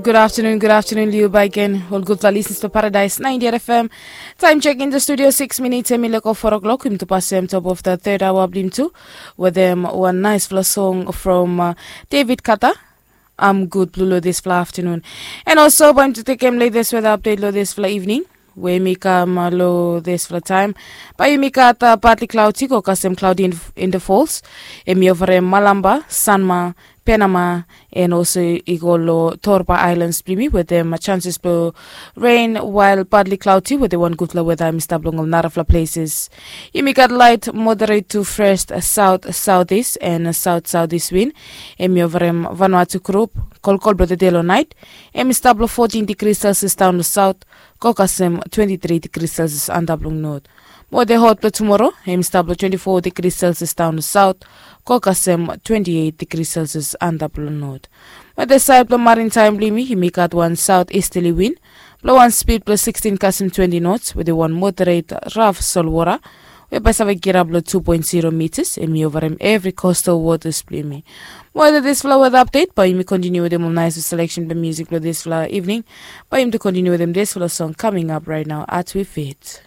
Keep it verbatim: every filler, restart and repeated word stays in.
Gud aftenun, gud aftenun long yu baik gen. Ol gudfala lisens blong Paradise ninety-eight F M. Taem chek in to studio, six minits em i leko four o'clock. Yumi tu pasem top of the third hour blong yumi tu wetem wan naesfala song from uh, David Kata. Am gud blong long disfala aftenun. And also bae yumi tu tekem latest weather update long disfala evening we mi kam uh, long disfala taem. Bae yumi gat uh, partly cloudy go kasem cloudy in, in the falls. Em i overem Malamba, Sanma, Penama, and also i go long Torba Islands blong yumi wetem uh, chances blong rain while partly cloudy wetem wan gudfala weather em i stap long ol narafala places. Yumi gat light moderate to first south southeast and south southeast wind. Em i overem Vanuatu group. Kolkol blong tede long nait em i stap long fourteen degrees Celsius daon long south go kasem twenty-three degrees Celsius antap long north. Mo de hot blong tumoro em i stap long twenty-four degrees Celsius daon long south go kasem twenty-eight degrees Celsius antap long north. Mo de saed blong maritime blong yumi yumi gat wan south easterly wind blong wan speed blong sixteen kasem twenty knots wetem wan moderate raf solwota we bae save kirap long two point zero meters. Em i overem evri coastal waters blong yumi. Mo wetem disfala weather update bae yumi kontiniu wetem ol naes selection blong music blong disfala evening. Bae yumi tu kontiniu wetem disfala song coming up right now at we fit.